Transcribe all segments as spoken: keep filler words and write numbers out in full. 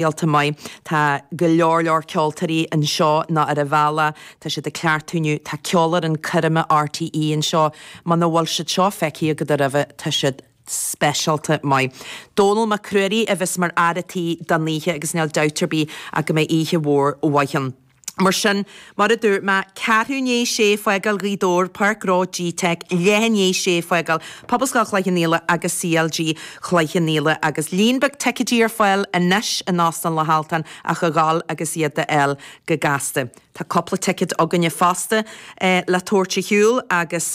speisialta maith. Tá go leor leor ceoltóirí anseo ná ar a bhealach, tá siad ag cleachtadh inniu, tá ceolfhoireann coirme RTÉ anseo, muna bhfuil siad seo feicthe agat roimhe, tá siad speisialta maith. Dónall Mac Ruairí a bheas mar fhear a' tí don oíche agus níl dabht ar bith ach go mbeidh oíche mhór mhaith ann. Mar sin, mar a dúirt mé, ceathrú i ndiaidh sé fágáil Ghaoth Dobhair, Páirc Ghnó GTeic, leath i ndiaidh sé fágáil Pobalscoil Chloich Cheann Fhaola agus CLG Chloich Cheann Fhaola agus líon beag ticéidí ar fáil anois in Óstán Loch Altan ach a ghabháil agus iad a fháil go gasta. Tá cúpla ticéad againne fosta le tabhairt ar shiúl agus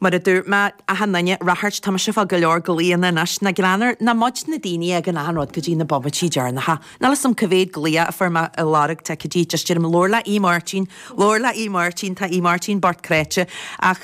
mar a dúirt mé, achan duine, ráchairt, tá mise ag fáil go leor glaonna anois, nach greannmhar, nach muid na daoine a fhágann achan rud go dtí na bomaití deireanacha. Níl 'fhios a'm cá mhéad glaoch a fuair mé ag lorg ticéidí, just deirim labhair le Aodh Máirtín, labhair le Aodh Máirtín, tá Aodh Máirtín bocht cráite ach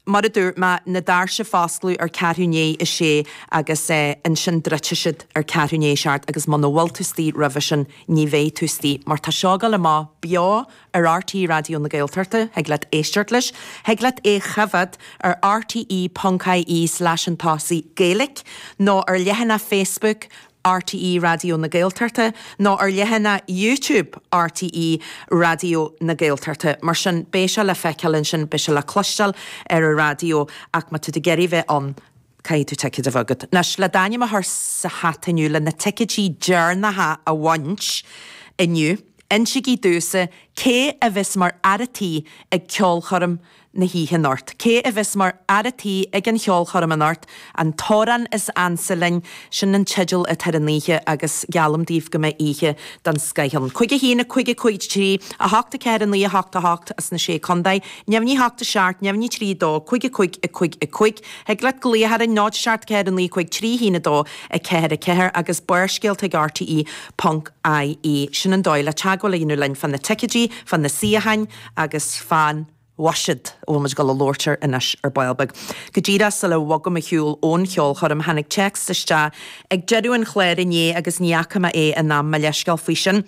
mar a dúirt mé, na doirse ag foscladh ar ceathrú i ndiaidh a sé agus ansin druidfidh siad ar ceathrú i ndiaidh a seacht agus muna bhfuil tú istigh roimhe sin ní bheidh tú istigh mar tá seo ag dul amach beo ar RTÉ Raidió na Gaeltachta, thig leat éisteacht leis, thig leat é a choimhéad ar rte ponc ie slash an tosaigh Gaeilge nó ar leathanach Facebook RTÉ Raidió na Gaeltachta nó ar leathanach YouTube RTÉ Raidió na Gaeltachta. Mar sin, beidh sé le feiceáil ansin, beidh sé le cloisteáil ar an raidió ach má tá tú ag iarraidh bheith ann, caithfidh tú ticéad a bheith agat. Anois, le d'ainm a chur sa hata inniu, le na ticéidí deireanacha a bhaint inniu, insígí domhsa cé a bheas mar fhear a' tí ag ceolchoirm na hoíche anocht. Cé a bheas mar fhear a' tí ag an cheolchoirm anocht? An t-amhrán is ansa linn, sin an teideal atá ar an oíche agus geallaim daoibh go mbeidh oíche den scoith ann. Cúig a haon, a cúig a cúig trí, a hocht a ceathair a naoi a hocht a hocht as na Sé Contae, neamhní a hocht a seacht, neamhní trí a dó, cúig a cúig a cúig a cúig. Thig leat glaoch orainn, náid a seacht ceathair a naoi cúig trí haon a dó a ceathair a ceathair agus Barrscéalta ag RTE ponc IE. Sin an dóigh le teagmháil a dhéanamh linn fá na ticéidí, fá na suíocháin agus fán bhuiséad a bhfuil muid ag dul a labhairt air anois ar ball beag. Go díreach sula bhogaim ar shiúl ón cheolchoirm, tháinig téacs isteach ag deireadh an chláir inné agus ní fhaca mé é in am, mo leithscéal faoi sin.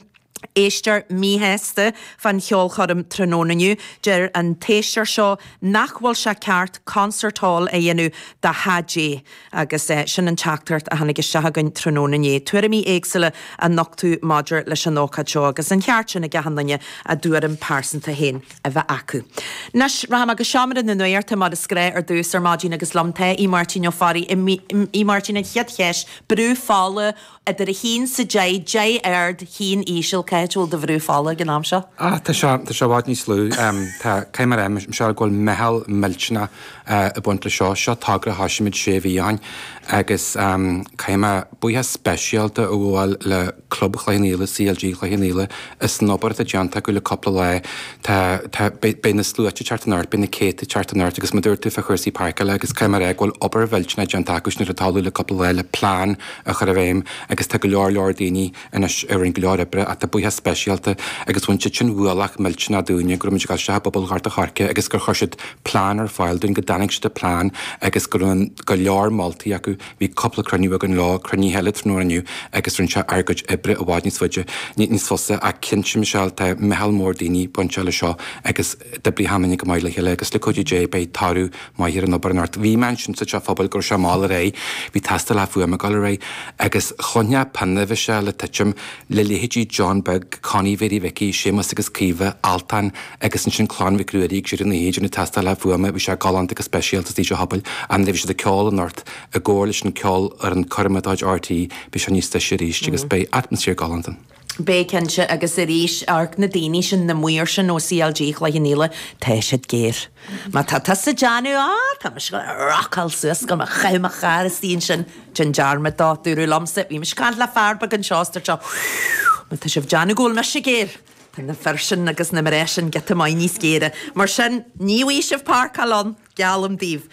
Éisteoir míshásta fán cheolchoirm tráthnóna inniu. Deir an t-éisteoir seo nach bhfuil sé ceart concert hall a dhéanamh de chaidé agus sin an teachtaireacht a tháinig isteach againn tráthnóna inné. Tuairimí éagsúla á nochtadh maidir leis an ócáid seo agus an ceart sin ag achan duine a dtuairim pearsanta féin a bheith acu. Anois, rachaidh mé go seomra na nuachta mar is gnách ar dtús ar maidin agus liom tá Aodh Máirtín Ó Fearraigh. Aodh Máirtín, an chéad cheist, brú fola idir a haon 's a deich, deich ard, haon íseal, cá háit a bhfuil do bhrú fola ag an am seo? Ah, tá sé, tá sé i bhfad níos lú. Tá, caithfidh mé a rá, Michelle, go bhfuil meitheal millteanach ag baint le seo. Seo togra a thoisigh muid sé mhí ó shin agus caithfidh mé buíochas speisialta a ghabháil le Club Chloich Cheann Fhaola, CLG Chloich Cheann Fhaola, as an obair atá déanta acu le cúpla lá. Tá, tá, beidh, beidh na sluaite ag teacht anocht, beidh na céadta ag teacht anocht agus mar a dúirt tú fá chúrsaí páirceála agus caithfidh mé a rá go bhfuil obair mhillteanach déanta acu sin ar an talamh le cúpla lá le plean a chur i bhfeidhm agus tá go leor leor daoine anois a rinne go leor oibre ach tá buíochas speisialta agus bhain siad sin ualach millteanach dúinne go raibh muid ag dul isteach i bpobal Ghort a' Choirce agus gur chuir siad plean ar fáil dúinn go dtáinig siad le plean agus go raibh go leor moltaí acu. Bhí cúpla cruinniú againn leo, cruinnithe eile tráthnóna inniu agus rinne sé ár gcuid oibre i bhfad níos faide, níos fusa ach cinnte Michelle tá meitheal mór daoine bainteach le seo agus d'oibrigh achan duine go maith le chéile agus le cuidiú Dé beidh toradh maith ar an obair anocht. Bhí mé ansin sa teach pobail go raibh sé mall ar aghaidh, bhí tástálacha fuaime ag dul ar aghaidh agus chluinfeá pionna Mhichelle ag titim le leithéidí John Beag, Connie Mhéirí Mhicí, Séamus agus Caoimhe, Altan agus ansin Clann Mhic Ruairí ag deireadh na hoíche ag déanamh tástálacha fuaime, bhí sé galánta go speisialta sa teach pobail ach nuair a bhí siad ag ceol anocht i gcomhar leis an ceolfhoireann coirme de chuid RTÉ beidh sé níos deise arís agus beidh atmaisféar galánta ann. Beidh cinnte agus arís, amharc na daoine sin, na maoir sin ó CLG Chloich Cheann Fhaola, tá siad géar. Má tá tusa ag déanamh, ah, tá mise ag rocáil suas, go mbeadh chaith mo charr istigh ansin, déan dearmad dó, dúradh liomsa, bhí mise ag caint le fear beag anseo is dúirt sé, má tá sibh ag déanamh go bhfuil mise géar, tá na fir sin agus na mná sin giota maith níos géire. Mar sin, ní bhfaighidh sibh páirceáil ann, geallaim daoibh.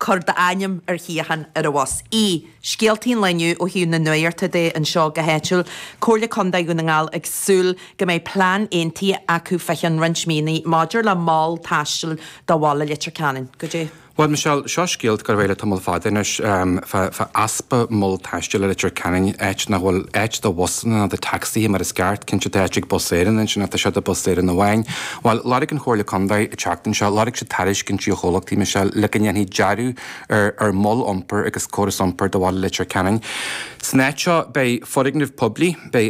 Cuir d'ainm ar shuíochán ar an bhus. ii, Scéaltaí an lae inniu ó thaobh na nuachta de anseo go háitiúil, Comhairle Contae Dhún na nGall ag súil go mbeidh plean aontaithe acu fá cheann roinnt míonna maidir le mol taistil do bhaile Leitir Ceanainn. Goidé? Bhuel, Michelle, seo scéal go raibh le tamall fada anois fá fá easpa mol taistil i Leitir Ceanainn, áit nach bhfuil áit do bhusanna ná do tacsaithe mar is ceart. Cinnte tá áit ag Bus Éireann ansin ach tá sé do Bus Éireann amháin. Bhuel, lorg an Chomhairle Contae an tseachtain seo, lorg siad tairiscintí ó chomhlachtaí, Michelle, le go ndéanfaí dearadh ar ar mhol iompair agus córas iompair do bhaile Leitir Ceanainn. San áit seo beidh foirgneamh poiblí, beidh